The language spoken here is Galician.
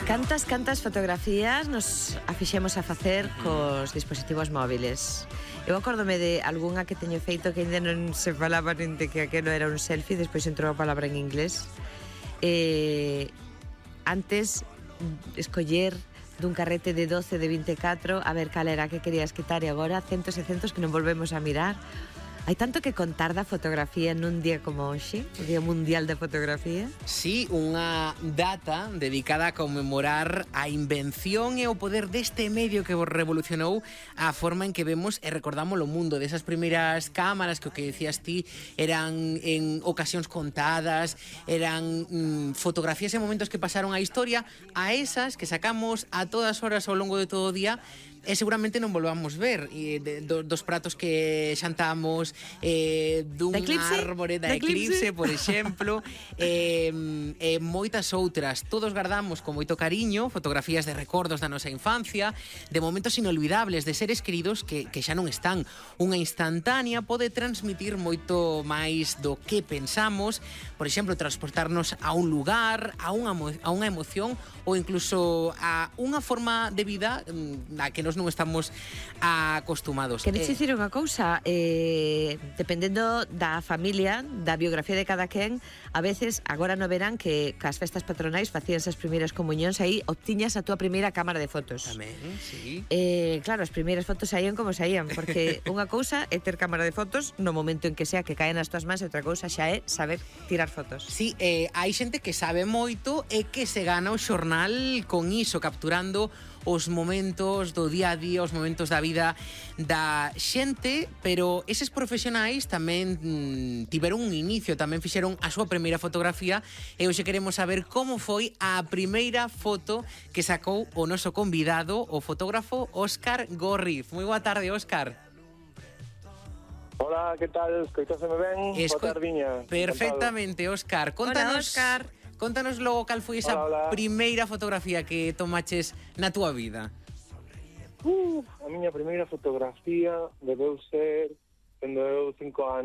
Cantas fotografías nos afixemos a facer cos dispositivos móviles. Eu acórdome de algunha que teño feito que ainda non se falaba nin de que aquelo era un selfie, despois entrou a palabra en inglés. Antes, escoller dun carrete de 12, de 24, a ver cal era que querías quitar, e agora centos e centos que non volvemos a mirar. Hai tanto que contar da fotografía nun día como hoxe, o Día Mundial da Fotografía. Sí, unha data dedicada a conmemorar a invención e o poder deste medio que revolucionou a forma en que vemos e recordamos o mundo, desas primeiras cámaras que o que decías ti eran en ocasións contadas, eran fotografías en momentos que pasaron a historia, a esas que sacamos a todas horas ao longo de todo o día e seguramente non volvamos ver, dos pratos que xantamos, dun árbore da eclipse, por exemplo, moitas outras. Todos guardamos con moito cariño fotografías de recordos da nosa infancia, de momentos inolvidables, de seres queridos que xa non están. Unha instantánea pode transmitir moito máis do que pensamos, por exemplo, transportarnos a un lugar, a unha emoción ou incluso a unha forma de vida a que nos non estamos acostumados. Queres dicir unha cousa, dependendo da familia, da biografía de cada quen, a veces, agora no verán que cas festas patronais facían as primeiras comunións, aí obtiñas a túa primeira cámara de fotos. Tamén, sí. Claro, as primeiras fotos saían como saían, porque unha cousa é ter cámara de fotos no momento en que sea que caen nas túas mans, e outra cousa xa é saber tirar fotos. Sí, hai xente que sabe moito e que se gana o xornal con iso, capturando os momentos do día a día, os momentos da vida da xente, pero eses profesionais tamén tiveron un inicio, tamén fixeron a súa primeira fotografía, e hoxe queremos saber como foi a primeira foto que sacou o noso convidado, o fotógrafo Óscar Górriz. Moi boa tarde, Óscar. Hola, que tal? Escoitaseme ben? Boa tardiña. Perfectamente, Óscar. Contanos, hola, Óscar. Contanos logo cal foi esa primeira fotografía que tomaches na túa vida. A miña primeira fotografía debeu ser cando eu 5 anos.